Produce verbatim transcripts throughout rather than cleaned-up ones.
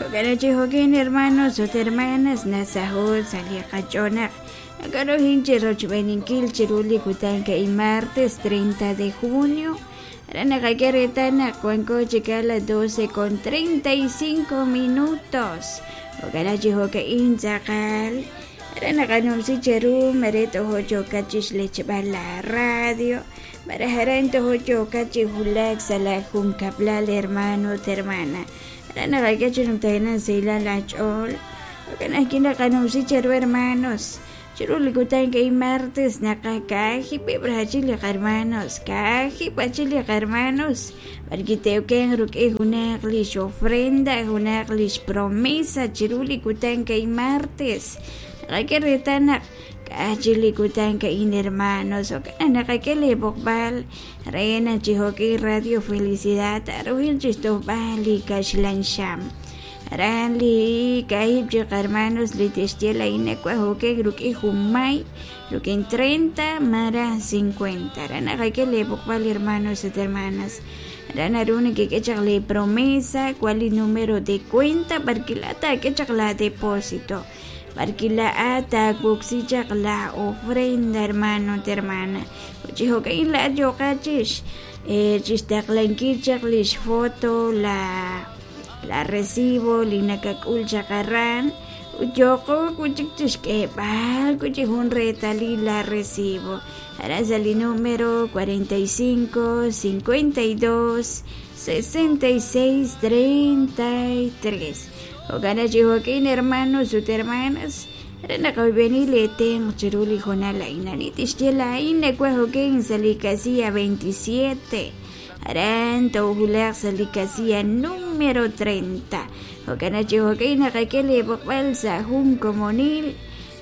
Jo'kan chi jo'kin hermanos ut hermanas nasaho' sa' li qach'oonaq nakarohin chi rochb'eeninkil chiru li kutan ka'in martes treinta de junio aran naqak'e reetal naq wanko chik a las doce con treinta y cinco minutos. Jo'kan chi jo'ka'in tz'aqal aran naqanumsi cheru mare tojo' yookat chi xlechb'al la radio malaj aran tojo' yookat chi wulak sa' la junkab'lal hermano ut hermana aran naqak'e chi numtajenaq sahilal aach'ool. Jo'kan ajwi' naqanumsi cheru hermanos chiru li kutan ka'in martes naqakaajib'eb' rachil li qarmanos kaajib' achil li qarmanos b'arki te'oken ruk'in junaq lix ofrenda junaq lix promesa chiru li kutan ka'in martes naqak'e reetal naq k'a'aj li kutan ka'in hermanos jo'kan naqak'e li b'oqb'al re naq chi jo'k'in Radio Felicidad arujil chi xtojb'al li kaxlan xam aran li kaahib' chi qarmanos li tixye la'in nawaj jo'kej ruk'in junmay ruk'in treinta malaj cincuenta aran naqak'e li b'oqb'al hermanos ut hermanas aran naru nakik'e chaq li promesa cuál li número de cuenta b'arki laa'at taak'e chaq la depósito b'arki laa'at taawoksi chaq la ofrenda hermano ut hermana chi jo'ka'in laa'at yooqat chix chixtaqlankil chaq lix foto la la recibo li nakak'ul chaq aran ut yooqo kuchik chixk'eeb'al kuchi jun reetalil la recibo aran sa' li número cuarenta y cinco, cincuenta y dos, sesenta y seis, treinta y tres. Jo'kan chi jo'kin hermanos ut hermanas aran naqoyb'eni li tenq' chiru li jonal a'in ani tixye la'in nawaj jo'kin sa' li casilla veintisiete aran toowulaq sa' li casilla número treinta. Jo'kan chi jo'kin naqak'e li b'oqb'al sa' jun komonil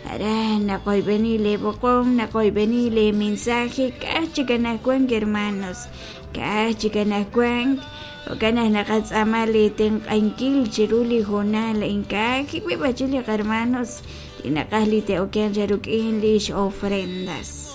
aran naqoyb'eni li b'oqom naqoyb'eni li mensaje k'aj chik anajwan hermanos k'aj chik anajwan jo'kan naq naqatz'aama li tenq'ankil chiru li jonal a'in kaajib'eb' achil li qarmanos li naqaj li te'oken ruk'in lix ofrendas.